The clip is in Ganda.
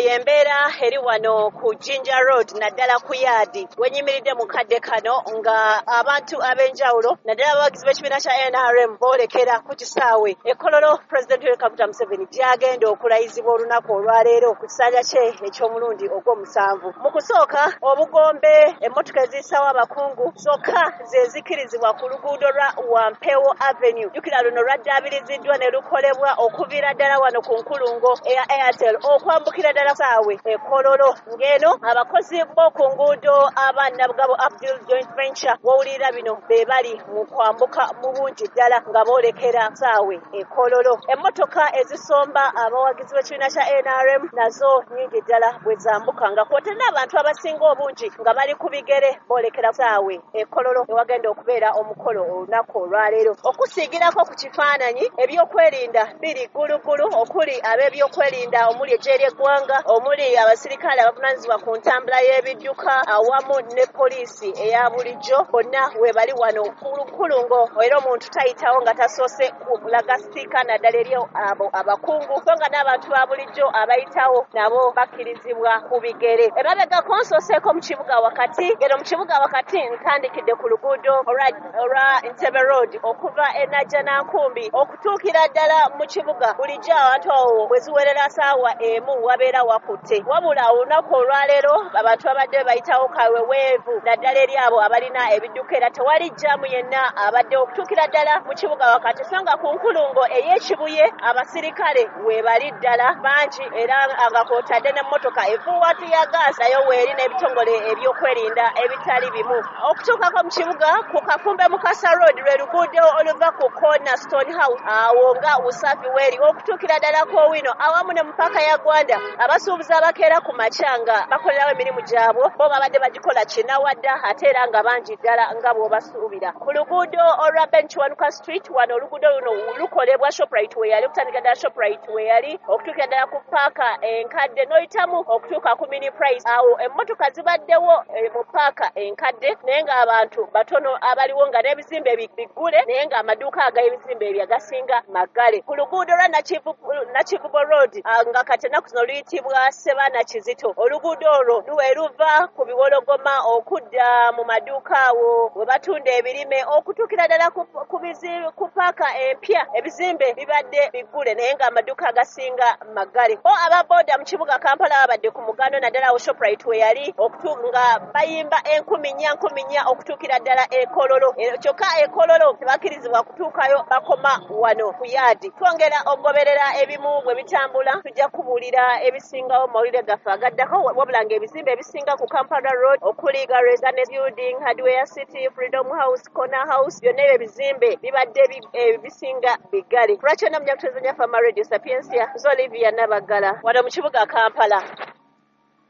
Eno y'embeera eri wano ku Jinja Road, naddala ku yaadi wenyimiridde mu kadde kano, nga abantu ab'enjawulo, naddala abawagizi b'ekibiina kya NRM, boolekera ku kisaawe e Kololo Pulezidenti Yoweri Kaguta Museveni gy'agenda okulayizibwa olunaku olwaleero ku kisanja kye eky'omulundi ogw'omusanvu. Mu kusooka, obugombe emmotoka eziyisawo abakungu zokka ze zikkirizibwa ku luguudo lwa Wampewo Avenue. Jjukira luno lwaddaabiriziddwa ne lukolebwa okuviira ddala wano ku nkulungo eya Airtel okwambukira ddala saawe e Kololo. Ng'eno abakozi b'oku nguudo aba Nabugabo Abdul Joint Venture wowulirira bino be bali mu kwambuka mu bungi ddala nga boolekera saawe e Kololo. Emmotoka ezisomba abawagizi b'ekibiina kya NRM nazo nnyingi ddala bwe zambuka, nga kw'otadde n'abantu abasinga obungi nga bali ku bigere boolekera saawe e Kololo ewagenda okubeera omukolo olunaku olwaleero. Okusiigirako ku kifaananyi, ebyokwerinda biri ggulugulu, okuli ab'ebyokwerinda omuli eggye ly'eggwanga, omuli abasirikale abavunaanyizibwa ku ntambula y'ebidduka, awamu ne poliisi eya bulijjo. Bonna we bali wano ku nkulungo, era omuntu tayitawo nga tasoose kulaga sitiika, naddala eri abo abakungu, so nga n'abantu ba bulijjo abayitawo nabo bakkirizibwa ku bigere. Emabegako nsooseeko mu kibuga wakati. Geno mu kibuga wakati ntandikidde ku luguudo olwa Entebbe Road okuva e Najjanankumbi okutuukira ddala mu kibuga. Bulijjo abantu awo bwe ziwerera saawa 1 wabeera wakutte, wabula olunaku olwaleero abantu babadde bayitawo kaweweevu, naddala eri abo abalina ebidduka, era tewali jjaamu yenna abadde okutuukira ddala mu kibuga wakati. So nga ku nkulungo ey'Ekibuye abasirikale weebali ddala bangi, era nga kw'otadde n'emmotoka efuuwa teargas nayo weeri, n'ebitongole ebyokwerinda ebitali bimu. Okutuukako mu kibuga ku Kafumbe Mukasa Road, lwe luguudo oluva ku Corner Stone House awo nga Usafi weeri okutuukira ddala ku Owino awamu ne mu paaka ya Gwanda, abasuubuzi abakeera ku makya nga bakolerawo emirimu gyabwe bo babadde bagikola kinawadda, ate era nga bangi ddala nga bw'obasuubira. Ku luguudo olwa Ben Kiwanuka Street, wano oluguudo luno lukolebwa Shoprite we yali, okutandika ddala Shoprite we yali okutuukira ddala ku paaka enkadde n'oyitamu okutuuka ku Mini Price, awo emmotoka zibaddewo mu paaka enkadde, naye ng'abantu batono abaliwo, nga n'ebizimbe biggule, naye ng'amaduuka ag'ebizimbe ebyo agasinga maggale. Ku luguudo lwa Nakivubo Road, nga kati ennaku zino luyitibwa Sebaana Kizito, oluguudo olwo lwe luva ku Biwologoma okudda mu maduuka awo we batunda ebirime okutuukira ddala ku paaka empya, ebizimbe bibadde biggule, naye ng'amaduuka agasinga maggale. Bo aba booda mu kibuga Kampala babadde ku mugano, naddala awo Shoprite we yali, nga bayimba 4,000 4,000 okutuukira ddala e Kololo. Kyokka e Kololo tebakkirizibwa kutuukayo, bakoma wano ku yaadi. Twongera okugoberera ebimu bwe bitambula, tujja kubuulira ebisingawo mu mawulire gaffe agaddako, wabula ng'ebizimbe ebisinga ku Kampala Road okuli Garnet Building, Hardware City, Freedom House, Corner House, byonna ebyo ebizimbe bibadde ebisinga biggale. Lwaki yonna munyakuteeza Fama Radio Sapiensia, nze Olivia Nabagala wano mu kibuga Kampala.